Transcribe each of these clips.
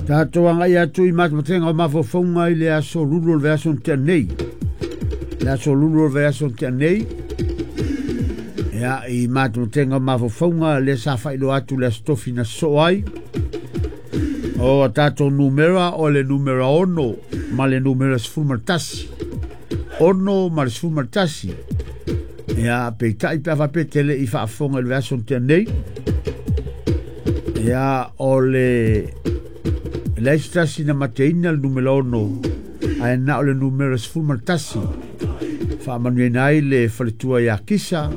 Tatou agai atu i matematega o mafaufauga i le aso lulu o le vaiaso na tea nei. Le aso lulu o le vaiaso na tea nei, ia, i matematega o mafaufauga lea sa faailoa atu le aso tofi na sosoo ai. O a tatou numera o le numera 6 ma le numera 11. 6 ma le 11. Ia, peitai pe a faapea te le i faafofoga i le vaiaso na tea nei, ia, o le leai se tasi na mateina le numera 6, ae na o le numera 11. Faamanuiaina ai le faletua ia Kisa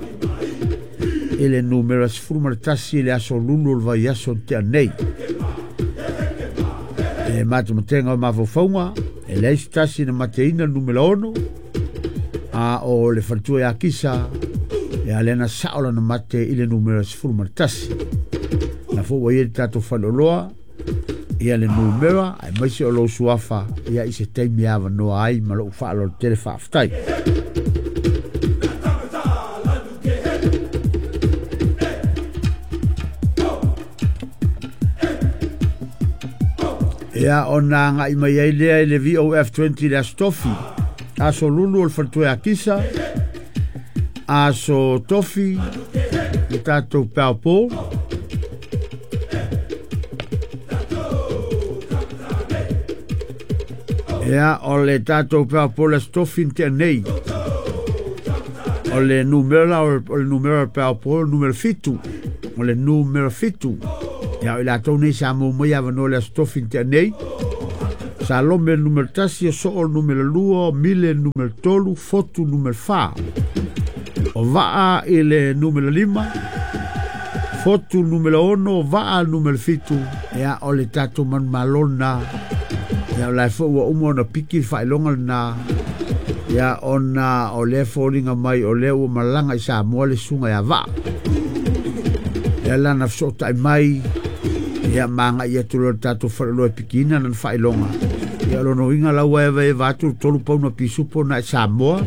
i le numera 11 i le aso lulu o le vaiaso na tea nei. E matematega o mafaufauga, e leai se tasi na mateina le numera 6, a o le faletua ia Kisa, ia lea na sao lana mate i le numera 11. Na fou ai le tatou faleoloa, ia le numera, ae maise o lou suafa, ia i se taimi avanoa ai ma lou faaaloalo tele faafetai. Ia, ona agai mai ai lea i le VOF20 le aso tofi. Aso lulu o le faletua ia Kisa, aso tofi le tatou Powerball. Ia, o le tatou Powerball aso tofi na tea nei. O le numera o le numera Powerball numera 7. O le numera 7. Ia, o i latou nei sa maua mai avanoa le aso tofi na tea nei. Salome le numera 1, o Soo le numera 2, o Mile le numera 3, Fotu numera 4. O Vaa i le numera 5, Fotu numera 6, o Vaa le numera 7. Ia, o le tatou manumalo lena. Ia, o la e foi ua uma ona piki le faailoga lena. Ia, ona o lea foliga mai o lea ua malaga i Samoa le susuga ia Vaa. Ia lana fesootai mai, ia magai atu loa le tatou faleoloa e pikiina lana faailoga. Ia, o lona uiga la ua evaeva atu le 3 pauna pisupo na i Samoa,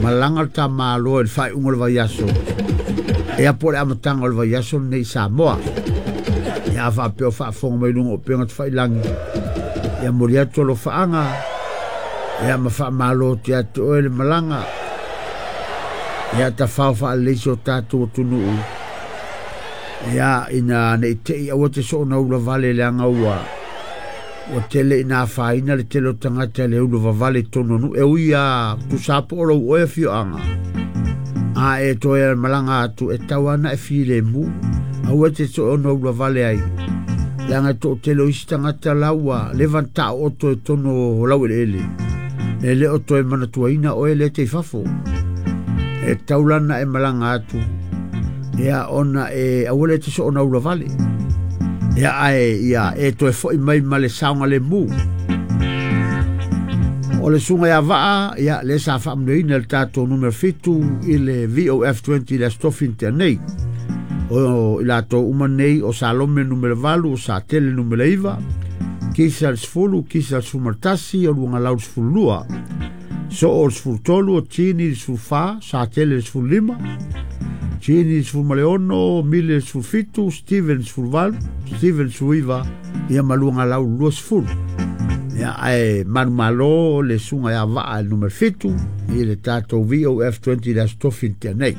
malaga le tamaloa i le faaiuga o le vaiaso. Ia, po o le amataga o le vaiaso lenei i Samoa. Ia, a faapea o faafofoga mai luga o upega tafailagi, ia moli atu alofaaga, ia ma faamalo te atu oe le malaga. Ia, tafao faalelei si o tatou atunuu. Ia, ina nei tei aua te soona ula vale leaga ua tele ina afaina le tele o tagata le ula vavale i totonu o nuu. E ui a tusa po o lou oe afioaga, a e toe malaga atu e tau ana e filemu, aua te soona ula vale ai. Leaga e toatele o isi tagata la ua leva na taooto i totonu o laueleele. E le o toe manatuaina oe le te i fafo. E tau lana e malaga atu, ia ona e aua le te soona ula vale. Ia, ae ia e toe foi mai ma le saoga le mu. O le susuga ia Vaa, ia le sa faamanuiaina le tatou numera 7 i le VOF20 le aso tofi na tea nei. O i latou uma nei o Salome numera 8, o Satele numera 9, Kisa le 10, Kisa le 11, o Luagalau le 12, Soo le 13, o Tini le 14, Satele le 15, Tini le 16, Mile le 17, Steven le 18, Steven le 19, ia ma Luagalau le 20. Ia, ae manumalo le susuga ia Vaa le numera 7 i le tatou VOF20 le aso tofi na tea nei.